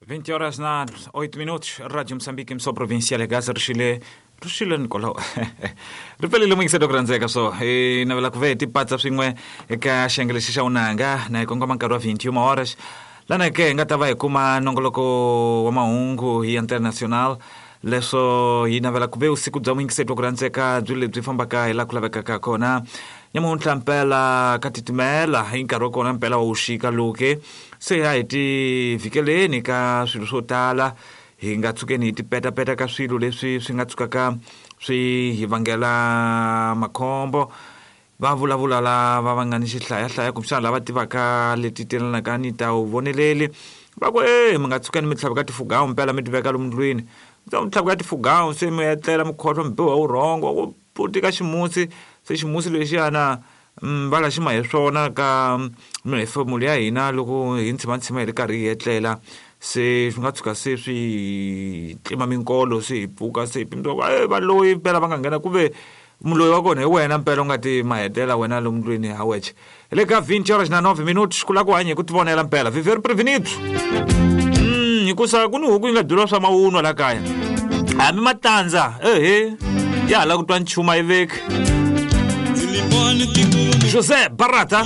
20 horas na 8 minutos, Rádio Moçambique, emissão provincial ya Gaza, rixile rixile Nicolau ri pelile muyingiselo ku rhandzeka so hi navela ku ve hi tipatsa swin'we eka xiyenge lexi xa unanga na hi kongoma nkarhi wa 21 horas lana ke hi nga ta va hi kuma nongoloko wa mahungu hi international. Leswo hi navela ku ve vusiku bya muyingiseti wa ku rhandzeka byi lebyi fambaka hi laha ku lavekaka kona. Nyamuntlha mpela ka titimela hi nkarhi wa kona mpela wa wuxika loke se a hi ti vhikeleni ka swilo swo tala, hi nga tshukeni hi tipetapeta ka swilo leswi swi nga tshukaka swi hi vangela makhombo. Va vulavula lava va nga ni xihlayahlaya kumbexana lava tivaka leti telanaka ni ta vuvoneleli, va ku e mi nga tshukeni mi tlhaveka tifugawu mpela mi ti veka lomu ndlwini, mi tlhaveka tifugawu se mi etlela mi khohlwa mi biwa vurhongo ku putika ximusi, se ximusi lexiyana va la xi ma hi swona ka mihefemulo ya hina loko hi ntshimantshiма hi ri karhi hi etlela, se swi nga tshuka se swi tlima minkolo se hi pfuka se hi pimisa ku e valoyi mpela va nga nghena ku ve muloyi wa kona hi wena mpela u nga ti mahetela wena lomu ndlwini ha wexe. Hi le ka 20 horas na 9 minutos ku lava ku hanya hi ku tivonela mpela viver prevenido hikusa ku ni huku yi nga byeriwa swa mawunwa la kaya hambi matandza ehe ya ha lava ku twa nchumu a yi veki. José Barata.